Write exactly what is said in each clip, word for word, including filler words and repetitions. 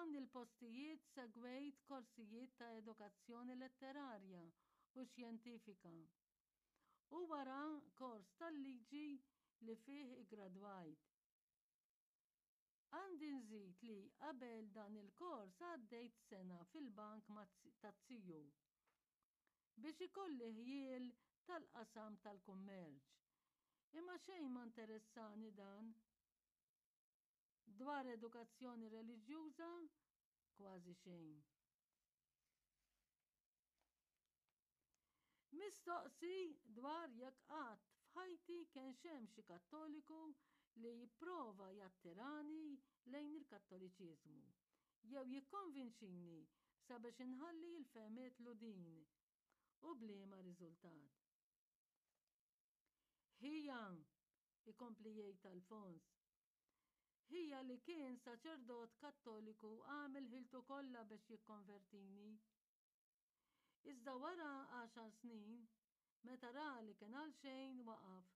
F'dawn il-postijiet segwejt korsijiet ta' edukazzjoni letterarja u xjentifika u wara kors tal-liġi li fih iggradwajt. Għandi nżid li qabel dan il-kors għaddejt sena fil-bank taz-ziju biex ikolli ħjiel tal-qasam tal-kummerċ. Imma xejn ma interessani dan. Dwar edukazzjoni reliġjuża, kważi xejn. Mistoqsi dwar jekk qatt f'ħajti kienx hemm xi Kattoliku li jipprova jattirani lejn il-Kattoliċiżmu jew jikkonvinċini sabiex inħalli l-fehmiet Lhudin, u b'liema riżultat. Ħija, ikompli jgħid Alfons, ħija li kien saċerdot Kattoliku għamel ħiltu kollha biex jikkonvertini. Iżda wara għaxar snin, meta ra li kien għal xejn waqaf.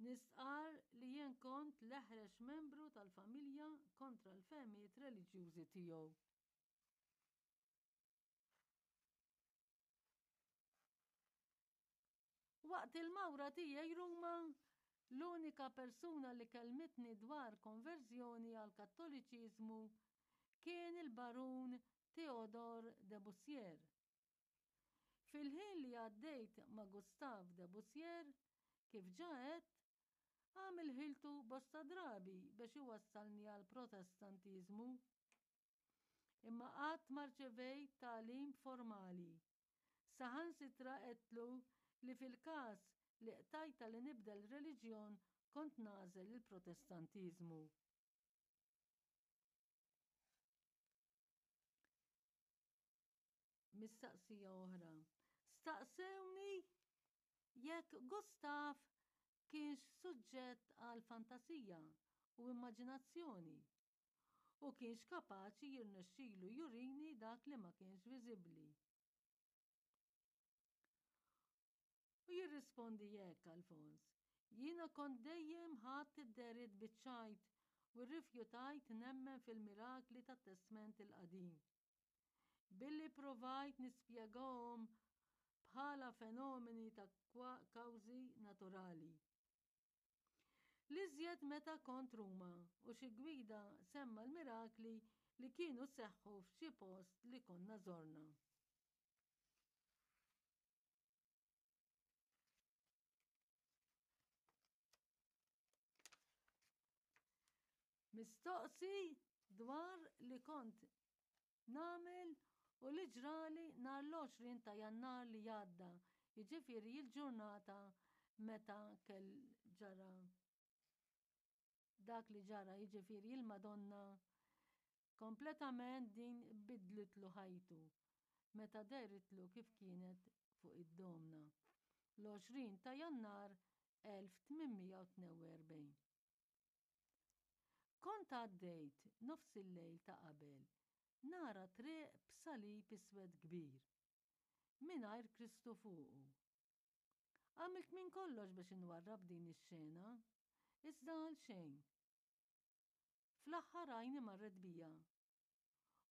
Nistqarr li jien kont l-eħrex membru tal-familja kontra l-fehmiet reliġjużi tiegħu. Waqt il-mawra tiegħi Ruma, l-unika persuna li kellmitni dwar konverżjoni għall-Kattoliċiżmu kien il-Barun Théodore de Bussière. Fil-ħin li għaddejt ma' Gustave de Bussière, kif ġa għedt, għamel ħiltu bosta drabi biex iwassalni għall-Protestantiżmu. Imma qatt ma rċevejt tagħlim formali. Saħansitra għedtlu li fil-każ li qtajta li nibdel reliġjon kont nagħżel il-Protestantiżmu. Mistaqsija oħra. Staqsewni jekk Gustav kienx suġġett għal fantasija u immaġinazzjoni u kienx kapaċi jirnexxilu jurini dak li ma kienx viżibbli. U jirrispondi hekk Alfons, jiena kont dejjem ħadt id-dehriet biċ-ċajt u rrifjutajt nemmen fil-mirakli tat-Testment il-Qadim. Billi provajt nispjegahom bħala fenomeni ta' kawżi naturali. L-iżjed meta kont Ruma u xi gwida semma l-mirakli li kienu seħħu f'xi post li konna żorna. Mistoqsi dwar li kont nagħmel u li ġrali nhar l-għoxrin ta' Jannar li għadda, jiġifieri l-ġurnata meta kell ġara dak li ġara, jiġifieri il-Madonna kompletament din bidlitlu ħajtu meta dehritlu kif kienet fuq id-domna l-għoxrin ta' Jannar elf tmien mija u tnejn u erbgħin. Kont għaddejt nofs il-lejl ta' qabel nara triq b'salib iswed kbir, mingħajr Kristu fuqu. Għamilt minn kollox biex inwarrab din ix-xena, iżda għal xejn. Fl-aħħar għajni marret bija.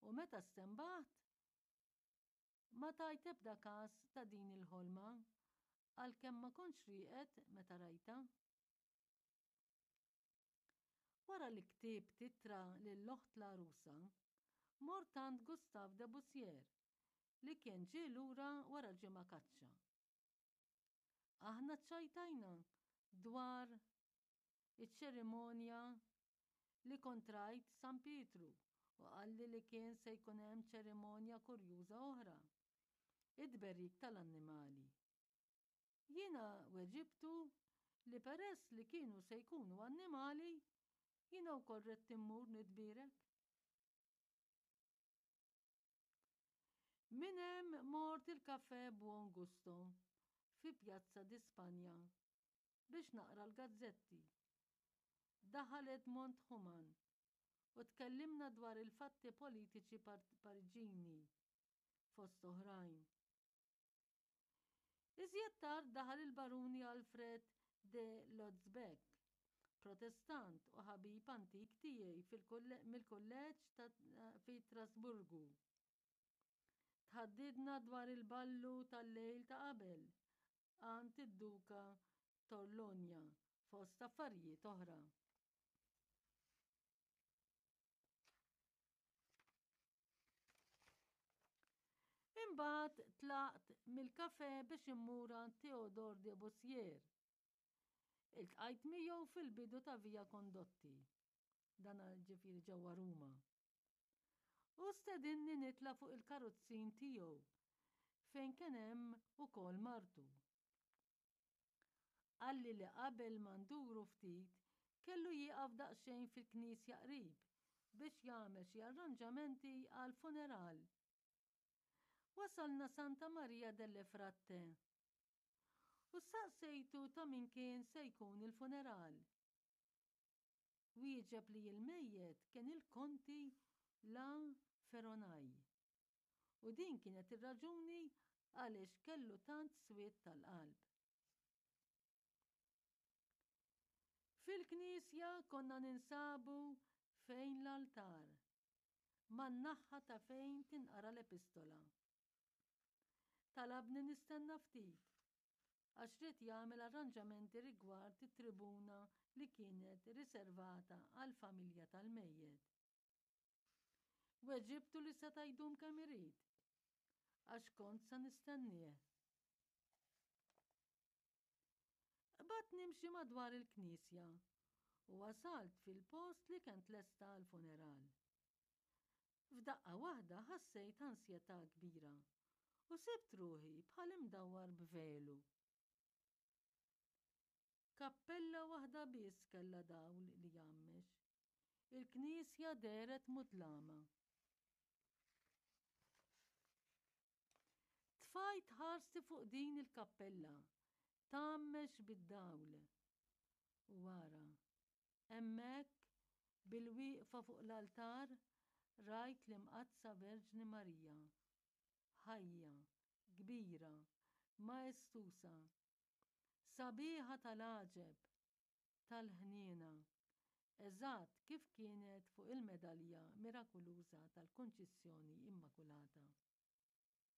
U meta stenbaħt, ma tajt ebda każ ta' din il-ħolma, għalkemm ma kontx rieqed meta rajtha. Wara li ktibt ittra lil oħt l-għarusa, mort għand Gustave de Bussière li kien ġie lura wara ġimgħa kaċċa. Aħna ċċajtajna dwar iċ-ċerimonja li kont rajt San Pietru u qalli li kien se jkun hemm ċerimonja kurjuża oħra, it-tberik tal-annimali. Jiena weġibtu li peress li kienu se jkunu annimali, jiena wkoll ridt immur nitbierek. Minn hemm mort il-Café Buon Gusto fi Piazza di Spagna biex naqra l-gazzetti. Daħal Edmond Human u tkellimna dwar il-fatti politiċi Pariġini fost oħrajn. Iżjed tard daħal il-baruni Alfred de Lotzbeck, Protestant u ħabib antik tiegħi mill-kulleġġ fi Strasburgu. Tħaddidna dwar il-ballu tal-lejl ta' qabel għand id-Duka Torlonia fost affarijiet oħra. Imbagħad tlaqt mill-kafè biex immur għand Theodore de Bussier. Iltqajt miegħu fil-bidu ta' Via Condotti, dan ġifieri ġewwa Ruma. U stedinni nitla' fuq il-karozzin tiegħu fejn kien hemm ukoll martu. Qalli li qabel ma nduru ftit kellu jieqaf daqsxejn fil-knisja qrib biex jagħmel xi arranġamenti għall-funeral. Wasalna Santa Maria delle Fratte u saqsejtu ta' min kien se jkun il-funeral. Wieġeb li l-mejjet kien il-Konti La Feronaj. U din kienet ir-raġuni għaliex kellu tant swied tal-qalb. Fil-knisja konna ninsabu fejn l-altar, man-naħa ta' fejn tinqara l-epistola. Talabni nistenna ftit, għax ried jagħmel arranġamenti rigward it-tribuna li kienet riservata għall-familja tal-mejjet. Weġibtu li seta' jdum kemm irid, għax kont sa nistennieh. Qbadt nimxi madwar il-knisja u wasalt fil-post li kien tlesta għall-funeral. F'daqqa waħda ħassejt ansjetà kbira u sibt ruħi bħal imdawwar b'velu. Kappella waħda biss kellha dawl li jgħammex. Il-knisja dehret mudlama. Tfajt ħarsti fuq din il-kappella, tgħammex bid-dawl. U ara, hemmhekk, bilwieqfa fuq l-altar, rajt l-Imqaddsa Verġni Marija, ħajja, kbira, maestusa, sabiħa tal-għaġeb, tal-ħniena, eżatt kif kienet fuq il-medalja mirakuluża tal-Kunċizzjoni Immakulata.